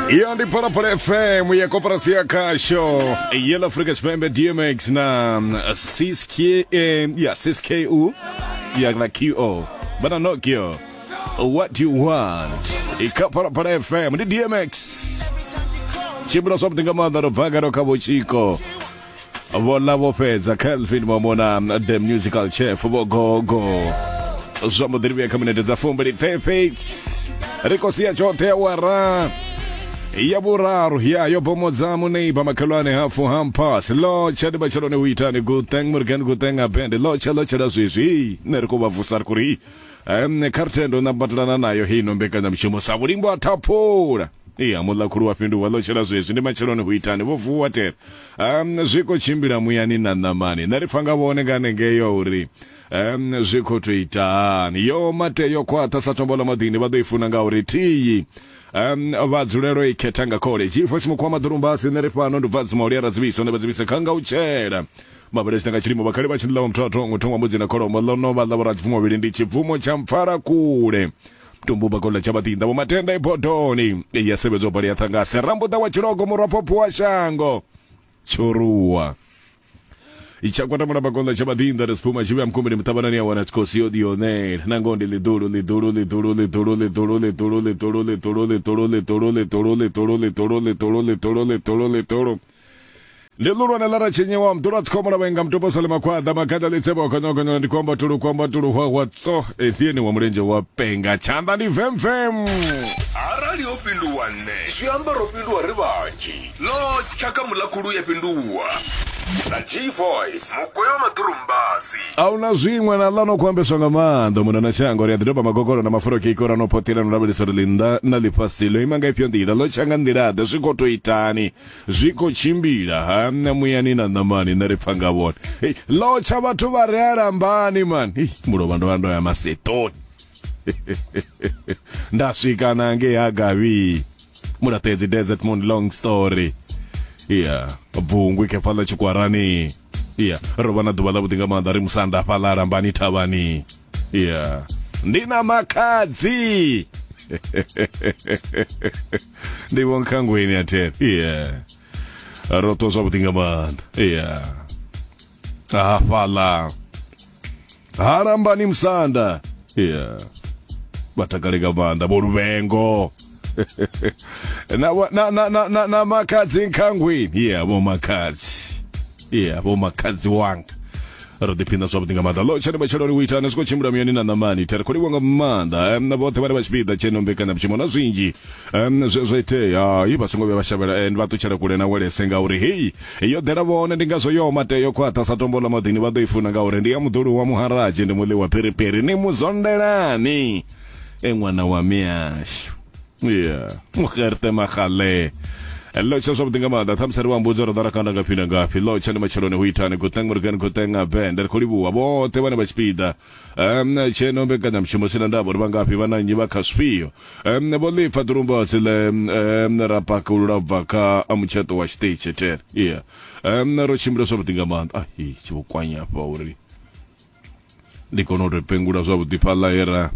Iyo ndi Phalaphala FM ya koporasi ya khasho Yellow Africa Tshipembe DMX na 6K ya 6KU ya na QO bana Nokia What You Want ikha Phalaphala FM ndi DMX tshimbila zwavhuḓi nga maanḓa ro bva ngano kha vhotshiko vho ḽa vho fhedza Kelvin Mamona the musical chef vho gogo zwa mbo ḓi ri vhuya kha minete dza fumbili perfect ri khou sia tshoṱhe awara ya vhuraru ya yo bomodza muneiba makhelwane hafu hampas lotsha ndi matsheloni u itani guteng murgen guteng abende lotsha lotshela zwezwi nṋe ri khou vha vusa ri khou ri kha ri tendo nambatelana nayo heino mbekanyamushumo sa vhulimbo ha thaphula Iya, muḽakhulu wa fhinduwa ḽo tshela zwezwi ndi matsheloni hu itani vho vuwa tere. Zwi khou tshimbila muyani na ṋamani. Nṋe ri pfa nga vhone nga hanengeyo uri zwi khou tou ita hani. Yo mate yo khwaṱha sa tombo ḽa maḓini vha ḓo i funa ngauri thiyi vha dzulelo i khetha nga khole. G-Voice Mukhuwa Maḓurumbasi nṋe ri fhano ndi bva Dzima Ulia Radzivhiso nṋe vha dzivhise kha nga u tshela. Mavhelesi nga tshilimo vhakhali vha tshi ḽa muthu a thongo thongwa mbudzi na kholomo ḽo no vha ḽa vhoradzifumo vhili ndi tshibvumo tsha mpfala kule. Tumbuba kola tsha vhaḓinḓa vho matenda i bodoni ya sevhedzwa bali ya ṱhangase rambuḓa wa tshilogo murwa phopho wa shango tshoruwa itshakwata mulamba kola tsha vhaḓinḓa ri siphuma tshivhuya mukumbini muṱavhanani ya wana tshikosi yo ḓionela na ngoho ndi ḽiḓulu ḽiḓulu ḽiḓulu ḽiḓulu ḽiḓulu ḽiḓulu ḽiḓulu ḽiḓulu ḽiḓulu ḽiḓulu ḽiḓulu ḽiḓulu ḽiḓulu ḽiḓulu ḽiḓulu ḽiḓulu ḽiḓulu Ndi ḽulwane ḽa ratshinyiwa muḓulu a tsikhombo la vhainga mutupo sale makhwaḓa makhada ḽitsebo khonyokhonyola ndi kwamba tulu kwamba tulu hwahwa tso ndi ene wa mulenzhe wa penga tshanḓa ndi vemvem. Arali ho fhinduwa nṋe zwi amba ro fhinduwa ri vhanzhi. Ḽo tsha kha muḽakhulu ya fhinduwa na G-Voice mugwevha wa maḓurumbasi. Ahuna zwiṅwe na ḽa no khou ambeswa nga maanḓa muna na shango ri a ḓi doba magokolo na mafulo keiko ra no phoṱela no lavhelesa uri ḽinnḓa na ḽifhasi ḽo ima nga ifhio nḓila ḽo tsha nga nḓila ḓe zwi khou tou itani zwi khou tshimbila ha nṋe muyani na ṋamani nṋe ri pfa nga vhone hey, lotsha vhathu vha re alambani man hey, mulovha ndo ya ndo ya masetoni nda swika na ngei ha gavhi mulaṱedzi desert moon long story yeah bvungwi khe fhaḽa tshikwarani yeah ro vha na ḓuvha ḽa vhuḓi nga maanḓa ri musanda fhaḽa lambani thavhani yeah ndi na makhadzi ndi vho nkhangweni ya there yeah ro ṱwa zwavhuḓi nga maanḓa yeah hafhaḽa halambani musanda yeah vha takale nga maanḓa vho luvhengo na, na, na, na, na, na makhadzi nkhangweni yeah vho makhadzi yeah vho makhadzi wanga ro ḓiphina zwavhuḓi nga maanḓa lo tshane matsheloni u itani zwi khou tshimbila muyani na ṋamani ri khou livhuwa nga maanḓa na vhoṱhe vhane vha tshipiḓa tsheno mbekanyamushumo na zwinzhi zwe zwa itea i vha songo vhuya vha shavhela vha ṱutshela kule na welese ngauri heyi yo ḓela vhone ndi ngazwo yo mate yo khwaṱha sa tombo ḽa maḓini vha ḓo i funa ngauri ndi ya muḓulu wa muharadzi ndi muḽi wa phiripiri ni muzondelani e ṅwana wa miashu yeah mugerte magale lotsha zwavhuḓi nga maanḓa ṱhamusi ri vha mbudza uri ḓo rakanda ngafhi na ngafhi lotsha ndi matsheloni hu itani guteng morgan guteng bende ri khou livhuwa vhoṱhe vhane vha tshipiḓa tsheno mbekanyamushumo sina ndavha uri vha ngafhi vha na nnyi vha kha zwifhio vho ḽipfa ḓurumbasi ḽe ra pakulula bva kha mutsheṱo wa tshiṱitshi there yeah ro tshimbila zwavhuḓi nga maanḓa ahi tshi vho kwanya hafha uri ndi kone u tou pengula zwavhuḓi fhaḽa he ra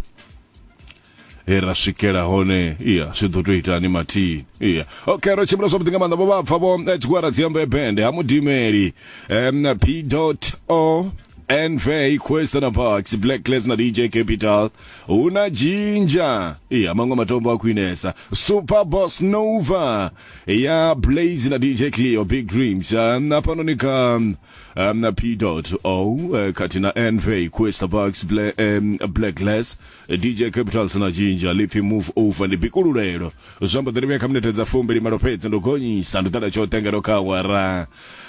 he ra swikela hone iya zwi ḓo tou itani mathini iya okay ro tshimbila zwavhuḓi nga maanḓa vho vha pfa vho tshigwada dziambe bende ha mudimeli p dot o nv Question Parks Black Class na DJ Capital hu na Ginger iya maṅwe matombo a khwinesa Super Boss Nova ya Blaze na DJ Cleo Big Dreams hafhanoni kha na P dot O khathihi na NV Questa Bucks Black, Black Glass DJ Capitals na Ginger lipfi Move Over ndi bikululelo zwi amba ḓo vhuya kha minete dza fumbili malo fhedzi ndo gonyisa ndo ḓala tshoṱhe ngeno kha awara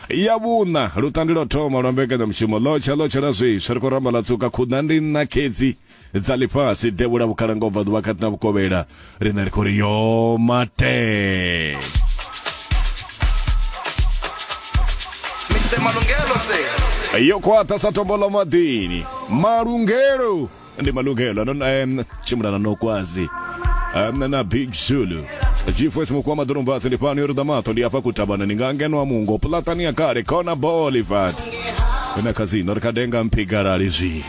ya vhuṋa lutandi lwa thoma lwa mbekanyamushumo lotsha lotsha la zwiswa ri khou ramba ḽa tsuka khuḓa ndi nṋa khedzi dza ḽifhasi devhula vhukhala nga ubva ḓuvha kati na vhukovhela riṋe ri khou ri yo mate Mr Malungelo se yo khwaṱha sa tombo ḽa maḓini malungelo ndi malungelo ano tshimbila na nokwazi na big zulu G4 mukwa maḓurumbasi ndi fhano yo ruḓa maṱo ndi hafha kutabana ni nga ngeno mungo pulatani ya kale khona boulevard na khazino ri kha denga mphigalali zwi.